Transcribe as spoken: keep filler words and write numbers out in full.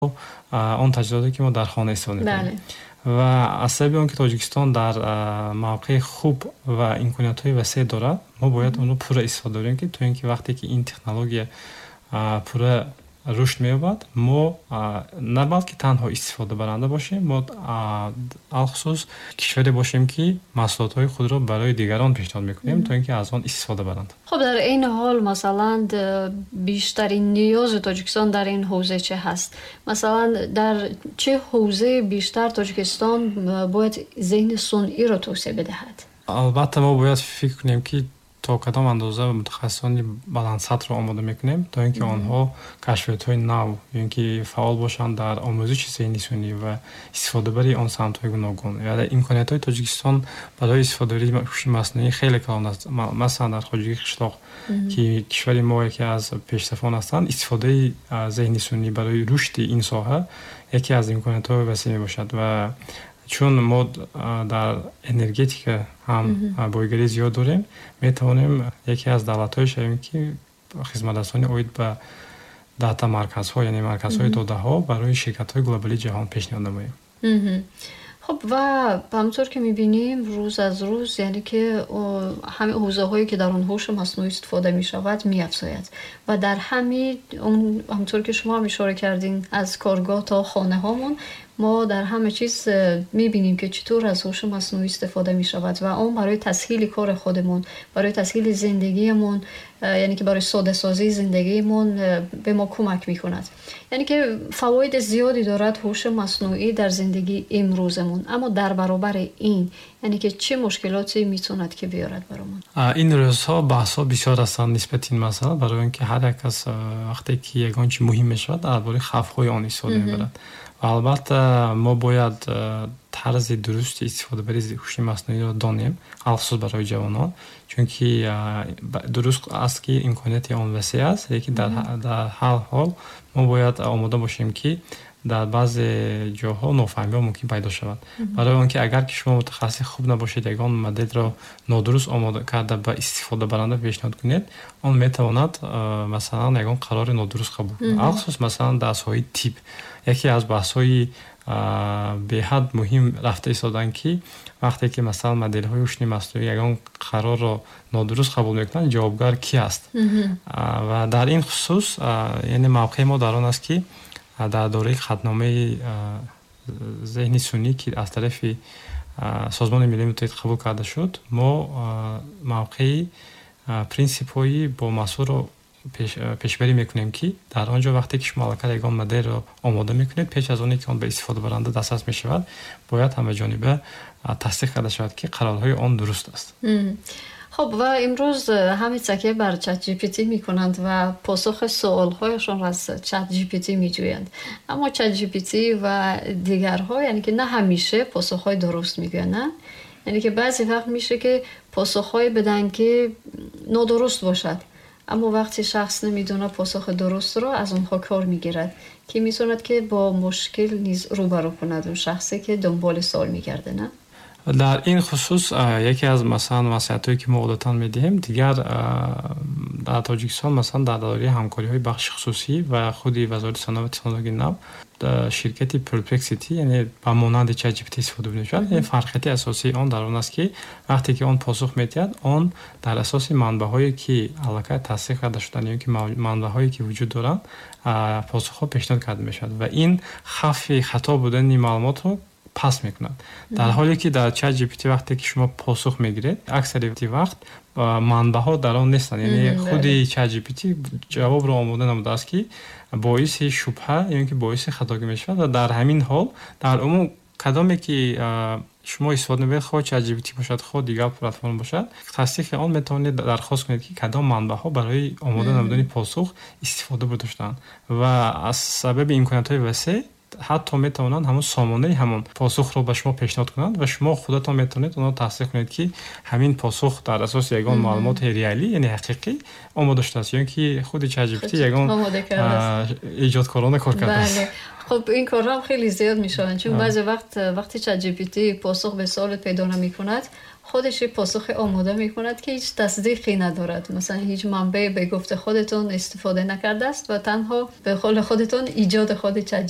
Он таҷҳизоте, ки мо дар хона истифода мекунем. Ва аз сабаби он ки Тоҷикистон дар мавқеи хуб ва имкониятҳои васеъ дорад, мо бояд онро пурра истифода барем, ки то ин ки вақте ки ин технология пурра рушд меёбад, мо на балки танҳо истифодабаранда бошем, мо алхусус кишваре бошем, ки маҳсулотҳои худро барои дигарон пешниҳод мекунем, то ин ки аз он истифода баранд. Хуб, дар ин ҳол, масалан, бештарин ниёзи Тоҷикистон дар ин ҳавза чӣ ҳаст? Масалан, дар чӣ ҳавзае бештар Тоҷикистон бояд зеҳни сунъиро тавсеа бидиҳад? Албатта, мо бояд фикр кунем, ки то кадом андоза мутахассисони баландсатҳро омода мекунем, то ин ки онҳо кашфиётҳои нав ё ин ки фаъол бошанд дар омӯзиши зеҳни сунъӣ ва истифодабарии он самтҳои гуногун. Яъне имкониятҳои Тоҷикистон барои истифодабарии ҳуши маснуӣ хеле калон аст. Масалан, дар хоҷагии қишлоқ, ки кишвари мо яке аз пешсафон ҳастанд, истифодаи зеҳни сунъӣ барои рушди ин соҳа яке аз имкониятҳои васеъ мебошад. Ва чун мо дар энергетика ҳам бойгарии зиёд дорем, метавонем яке аз давлатҳое шавем, ки хизматрасонӣ оид ба дата марказҳо, яъне марказҳои додаҳо, барои ширкатҳои глобалии ҷаҳон пешниҳод намоем. Хуб, ва ҳамонтавр ки мебинем, рӯз аз рӯз, яъне ки ҳамин ҳавзаҳое, ки дар он ҳуши маснуӣ истифода мешавад, меафзояд ва дар ҳамин ҳамонтавр ки шумо ҳам ишора кардин, аз коргоҳ то хонаҳомон мо дар ҳама чиз мебинем, ки чатур аз ҳуши маснуӣ истифода мешавад ва он барои тасҳили кори худамон, барои тасҳили зиндагиамон, яъне ки барои содасозии зиндагиамон ба мо кӯмак мекунад. Яъне ки фавоиди зиёде дорад ҳуши маснуӣ дар зиндагии имрӯзамон. Аммо дар баробари ин, яъне ки чӣ мушкилоте метавонад ки биёрад баромон? Ин рӯзҳо баҳсҳо бисёр ҳастанд нисбати ин масъала, барои он ки ҳар як кас, вақте ки ягон чи муҳим мешавад, дар бораи хавфҳои он истифода мебарад. Ва албатта, мо бояд тарзи дурусти истифодабарии ҳуши маснуиро донем, алхусус барои ҷавонон, чунки дуруст аст, ки имконияти он васеъ аст, лекин дар ҳар ҳол мо бояд омода бошем, ки дар баъзе ҷоҳо нофаҳмиҳо мумкин пайдо шавад. Барои он ки агар ки шумо мутахассиси хуб набошед, ягон моделро нодуруст омода карда ба истифодабаранда пешниҳод кунед, он метавонад, масалан, ягон қарори нодуруст қабул кунад. Алхусус, масалан, дар соҳаи тиб яке аз баҳсҳои беҳад муҳим рафта истоданд, ки вақте ки, масалан, моделҳои ҳушни маснуӣ ягон қарорро нодуруст қабул мекунанд, ҷавобгар кӣ аст? Ва дар ин хусус, яъне мавқеи мо дар он аст, ки дар доираи қатъномаи зеҳни сунъӣ, ки аз тарафи Созмони Милали Муттаҳид қабул карда шуд, мо мавқеи принсипҳои бомасъулро пешбарӣ мекунем, ки дар он ҷо вақте ки шумо аллакай ягон моделро омода мекунед, пеш аз оне ки он ба истифодабаранда дастрас мешавад, бояд ҳамаҷониба тасдиқ карда шавад, ки қарорҳои он дуруст аст. Хуб, ва имрӯз ҳама такя бар Чат G P T мекунанд ва посухи суолҳояшонро аз Чат G P T меҷӯянд. Аммо Чат G P T ва дигарҳо, яъне ки на ҳамеша посухҳои дуруст мегӯянд, на? Яъне ки баъзе вақт меша, ки посухҳое биданд, ки нодуруст бошад. Аммо вақте шахс намедонад посухи дурустро, аз онҳо кор мегирад, ки метавонад ки бо мушкил низ рӯбарӯ кунад он шахсе, ки дунболи суол мегардад, на? Дар ин хусус яке аз, масалан, маслиҳатҳое, ки мо одатан медиҳем, дигар дар Тоҷикистон, масалан, дар доираи ҳамкориҳои бахши хусусӣ ва худи Вазорати саноат ва технологияи нав, ширкати Perplexity, яъне ба монанди Чат G P T истифода мешавад. Фарқияти асосии он дар он аст, ки вақте ки он посух медиҳад, он дар асоси манбаъҳое, ки аллакай тасдиқ карда шуданд ё ки манбаъҳое, ки вуҷуд доранд, посухҳо пешниҳод карда мешавад ва ин хавфи хато будани маълумотро паст мекунад. Дар ҳоле ки дар Чат G P T вақте ки шумо посух мегиред, аксари вақт манбаъҳо дар он нестанд, яъне худи Чат G P T ҷавобро омода намудааст, ки боиси шубҳа ё ин ки боиси хатогӣ мешавад. Ва дар ҳамин ҳол, дар умум, кадоме ки шумо истифода мебаред, хоҳ Чат G P T бошад, хоҳ дигар платформа бошад, тасдиқи он метавонед дархост кунед, ки кадом манбаъҳо барои омода намудани посух истифода бурда шудаанд. Ва аз сабаби имкониятҳои васеъ ҳатто метавонанд ҳамон сомонаи ҳамон посухро ба шумо пешниҳод кунанд ва шумо худатон метавонед онро тасдиқ кунед, ки ҳамин посух дар асоси ягон маълумоти реалӣ, яъне ҳақиқӣ, омода шудааст ё ин ки худи Чат G P T ягон эҷодкорона кор кардааст. Хуб, ин корҳо хеле зиёд мешаванд, чун баъзе вақт, вақте Чат G P T посух ба суолат пайдо намекунад, Худаш посухи омода мекунад, ки ҳеҷ тасдиқе надорад, масалан, ҳеҷ манбаъе ба гуфти худатон истифода накардааст ва танҳо ба қавли худатон эҷоди худи Chat